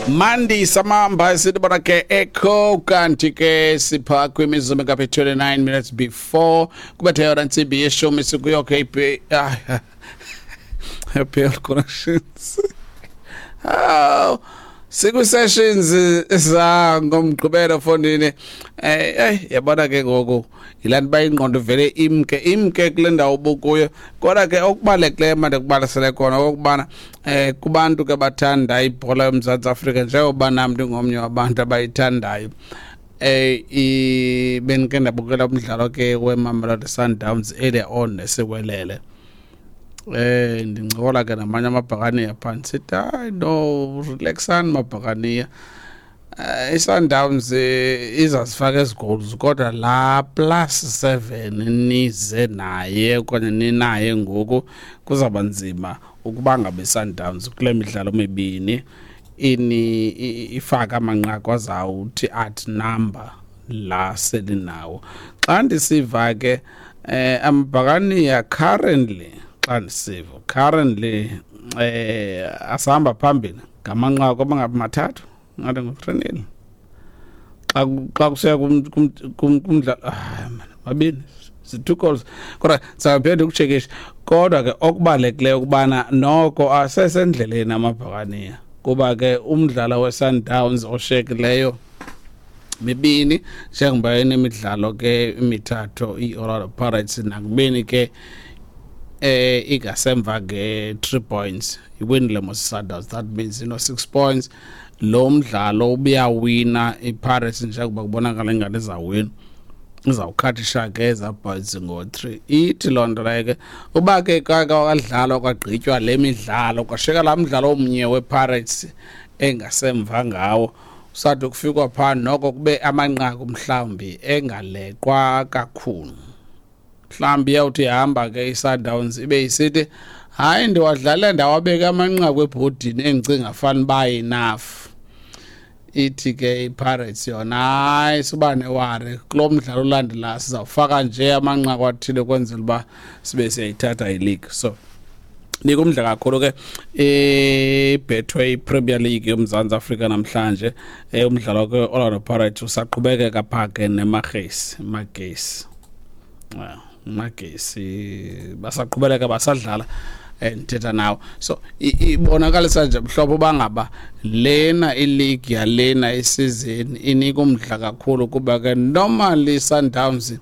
Mandi samamba sithi bona ke echo, kanti ke sipha kwimizuzu engaphi 29 minutes before kubethe yona ntsimbi yeshumi, sikuyo ke PL Connections. Oh, siku-sessions zangomgqibelo fondini. Yabona ke ngoku yilaa nto uba ingqondo vele imke imke kule ndawo ubukuyo, kodwa ke okubalulekileyo mandikubalisele kona okokubana kubantu ke bathanda ibhola yoMzantsi Afrika, njengoba nam ndingomnye wabantu abayithandayo, bendike ndabukela umdlalo ke weMamelodi Sundowns earlier on nesiwelele. Ndincokola ke namanye amabhakaniya phaa, ndisithi hayi no, relaxani mabhakaniya, iSundowns izazifaka ezi goals, kodwa laa +7 nize naye okanye ninaye ngoku kuzawuba nzima ukuba ngabe iSundowns kule midlalo mibini ini ifake amanqaku azawuthi outnumber la selinawo. Xa ndisiva ke amabhakaniya currently, xa ndisiva currently asahamba phambili ngamanqaku abangabi 3, ngathi ngu-3-0 xa kusiya kumdlalo, ah, man, 2, zi-two goals, kodwa sizawuphinda ukutshekisha. Kodwa ke okubalulekileyo ukubana noko asesendleleni amabhakaniya, kuba ke umdlalo we-Sundowns oshekileyo mibini, njengoba enemidlalo ke imithathu i-Orlando Pirates, nakubeni ke ingasemva nge-3 points, iwinile mos Sundowns, that means ino 6 points. Lo mdlalo ubuyawina iPirates, njengoba kubonakala ingathi izawina, izawukhathisha ke ezaa points ngo-3. Ithi loo nto leyo ke uba ke kwadlalwa kwagqitywa le midlalo, kwashiyeka laa mdlalo omnye wePirates engasemva ngawo, usathi kufikwa phaa noko kube amanqaku mhlawumbi engaleqwa kakhulu. Mhlawumbi iyawuthi ihamba ke iSundowns ibe isithi hayi, ndiwadlale ndawabeka amanqaku ebhodini endicinga fanuba enough. Ithi ke iPirates yona hayi, suba ne-worry, kulo mdlalo ulandelayo sizawufaka nje amanqaku athile ukwenzela uba sibe siyayithatha ileague. So nika umdla kakhulu ke iBetway Premier League yoMzantsi Afrika namhlanje. Umdlalo ke Orlando Pirates usaqhubekeka phaa ke neMagesi Magesi, Magesi basaqhubeleka basadlala, ndithetha nawo. So ibonakalisa nje mhlobo uba ngaba lena ileague yalena isizini inika umdla kakhulu, kuba ke normally Sundowns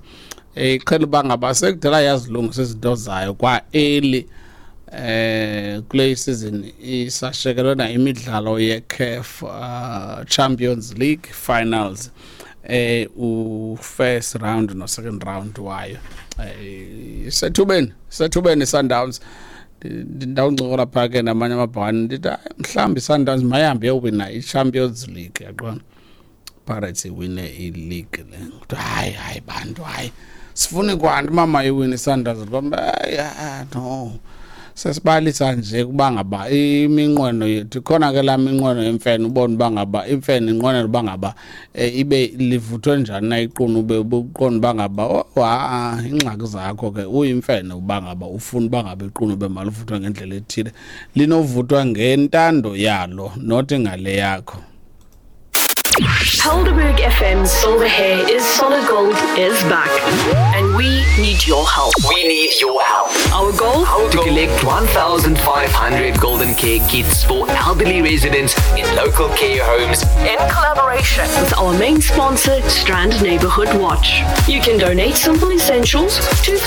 iqhela uba ngaba sekudala yazilungisa izinto zayo kwa-early. Kule season isashekelwe na imidlalo ye-CAF Champions League finals, u first round no second round wayo. Sethubeni Sundowns. Ndawuncokola phaa ke namanye amabhakani, ndithi hayi, mhlawumbi iSundowns mayihambe iyowina i-Champions League, yaqona Pirates iwine i-league le. Kuthiwa hayi hayi bantu, hayi sifuni kwanto mama iwine iSundowns. Hayi, no, sesibalisa nje kuba ngaba iminqweno yethu khona ke laa minqweno yemfene, ubone uba ngaba imfene inqwenela uba ngaba ibe livuthwe njani na iqunube, ubuqonda uba ngaba oh, ha iingxaki zakho ke uyimfene, uba ngaba ufuna uba ngaba iqunube malivuthwe ngendlela ethile, linovuthwa ngentando yalo, not ngale yakho. Helderberg FM's Silver Hair is Solid Gold is back. And we need your help. We need your help. Our goal? To collect 1,500 Golden Care kits for elderly residents in local care homes in collaboration with our main sponsor, Strand Neighborhood Watch. You can donate simple essentials, toothpaste,